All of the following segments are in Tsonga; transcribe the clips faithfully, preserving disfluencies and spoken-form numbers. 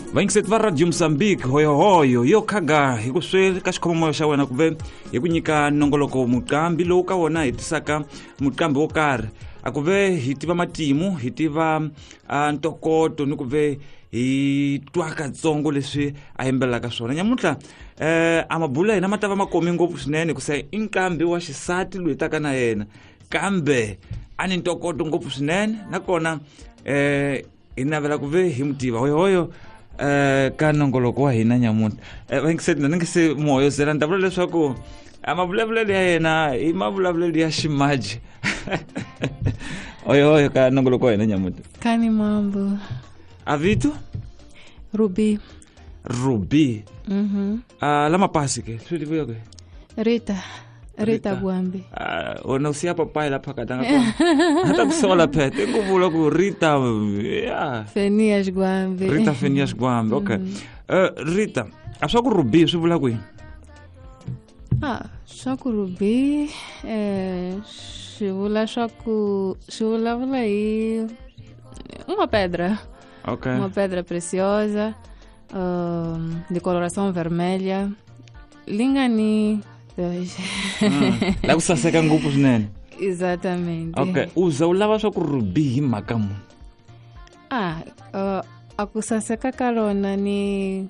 Vayingiseti va Radio Mozambique, hoyohoyo yo khaga hi ku swi ka xikhomomoyo xa wena kuve hi ku nyika nongoloko muqambi lowu ka wona hi tisaka muqambi wo karhi a ku ve hi tiva matimu hi tiva ntokoto ni ku ve hi twa katsongo leswi a yimbelelaka swona. Nyamuntlha eh a mabulu ya hina ma ta va ma komi ngopfu swinene ku se i nqambi wa xisati loyi taka na yena kambe a ni ntokoto ngopfu swinene nakona eh hi navela ku ve hi mu tiva. Hoyohoyo eh ka nongoloko wa hina nyamuntlha eh vayingiseti na ni nge se muhoyozela ni ta vula leswaku a mavulavulelo ya yena i mavulavulelo ya ximaji. Hoyohoyo ka nongoloko wa hina nyamuntlha. Kani mambo. Avito? Ruby. Ruby. Mhm. Ah, la mapasi ke. Swi tiviwa ke? Rita. Rita Gwambi. Ah, wena u siya papai lapha katanga kona. Ata ku sola phethe ku vula ku Rita, yeah. Fenias Gwambi. Rita Fenias Gwambi. Okay. Mm. Uh, Rita, a swa ku Ruby swi vula ku yini? Ah, swa ku Ruby eh swi vula swa ku swi vulavula hi uma pedra. Okay. Uma pedra preciosa, um, de coloração vermelha. Lingani dois. Mm. La ku saseka ngopfu swinene. Exatamente. Okay, uza u lava swa ku Ruby hi mhaka muni? Ah, uh, a ku saseka ka rona ni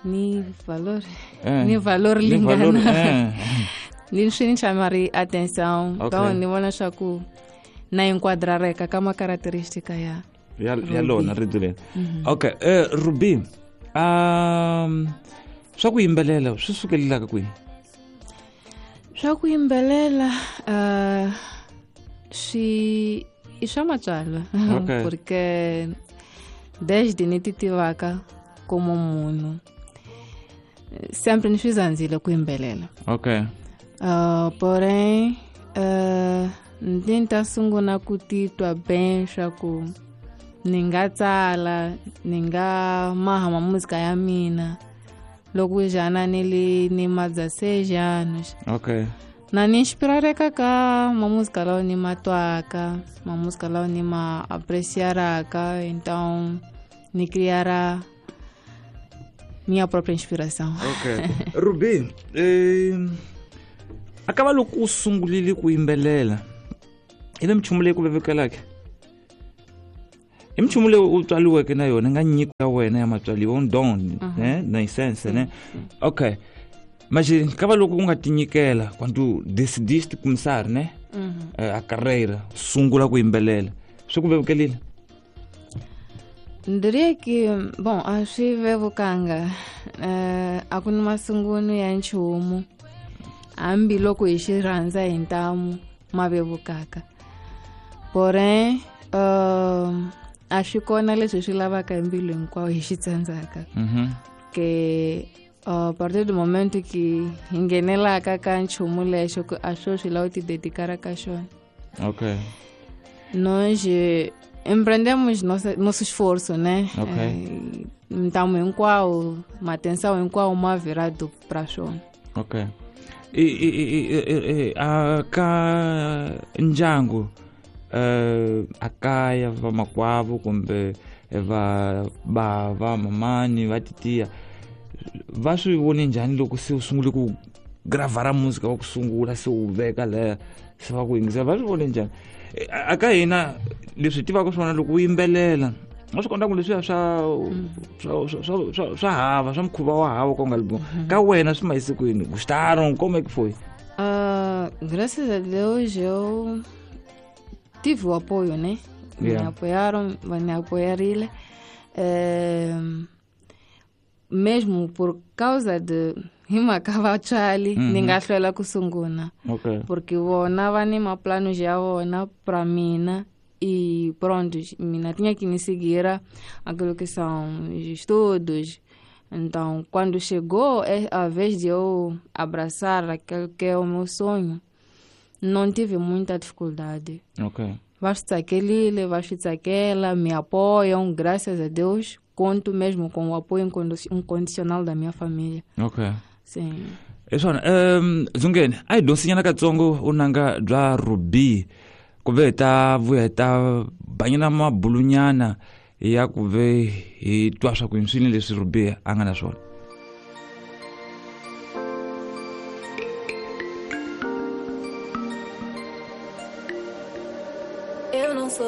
ni valor. Eh. Ni valor Ni valor, lingana. eh. Ni swi ni chamari atenção. Okay. Então ni vona swa ku na enquadrareka ka ma característica ya ya ya Ruby. lona rito leri. Okay, eh Ruby, um swa ku yimbelela swi sukelelaka kwini? Swa ku yimbelela uh, swi i swa matswalwa. Okay. Porque desde ni ti tivaka como munhu sempre ni swi zandzile ku yimbelela. Okay. Uh, porém uh, ni ta sungula ku titwa bem swa ku ni nga tsala ni nga maha ma música ya mina loko jana ni li ni ma dezesseis anos. Okay. Na ni inspirareka ka ma música lawa ni ma twaka, ma música lawa ni ma apreciaraka, então ni criará minha própria inspiração. Okay. Ruby, eh akava loko u sungulile ku yimbelela i le minchumu leyi ku vevukelaka? I minchumu leyi u tswaliweke na yona nga nyiko ya wena ya matswaliwa un don, eh naissance, né? Okay. Mas kava loko u nga tinyikela quando decidiste começar, né? A carreira, sungula ku yimbelela swi ku vevukelile? Diria que, bom, a swi vevukanga. Uh, a ku ni masungulo ya nchumu hambiloko hi xi rhandza hi ntamu ma vevukaka. Porém, uh, a swi kona leswi swi lavaka hi mbilu hinkwayo hi xi tsandzaka. Mhm. Que a partir do momento que hi nghenelaka ka nchumu lexo ku a swo swi lava u ti dedikara ka xona. Okay. Nós empreendemos nosso, nosso esforço, né? Okay. Eh, ntamu hinkwawo, matenção hinkwawo ma virado pra xona. Okay. I i i i a ka ndyangu eh a kaya va makwavo kumbe va bava mamani va titiya va swi vone njhani loko se u sungule ku gravara música wa ku sungula se u veka leya se va ku yingisela va swi vone njhani? A ka hina leswi tivaka swona loko u yimbelela a swi kota ku leswiya swa swa swa swa hava swa mukhuva wa hava ku nga li ka wena swi mayise kwini? Gostaram? Como é que foi? Uh, graças a Deus eu tive o apoio, né? Yeah. Me apoiaram, me apoiaram. É, mesmo por causa de himaka vatswali mm -hmm. ni nga hlwela ku sungula. Okay. Porque vona va ni maplanos ya vona pra mina e pronto, mina tinha que me seguir aquilo que são os estudos. Então, quando chegou a vez de eu abraçar aquilo que é o meu sonho, não tive muita dificuldade. Ok. Basta aquele, basta aquela, me apoiam, graças a Deus. Conto mesmo com o apoio incondicional da minha família. Ok. Sim. Esona, um, Zungeni, a hi dyondzinyana katsongo unanga bya Ruby ku ve hi ta vuya hi ta banyana mabulunyana Ya ku ve hi twa swa ku swini leswi Ruby a nga na swona. Eu não sou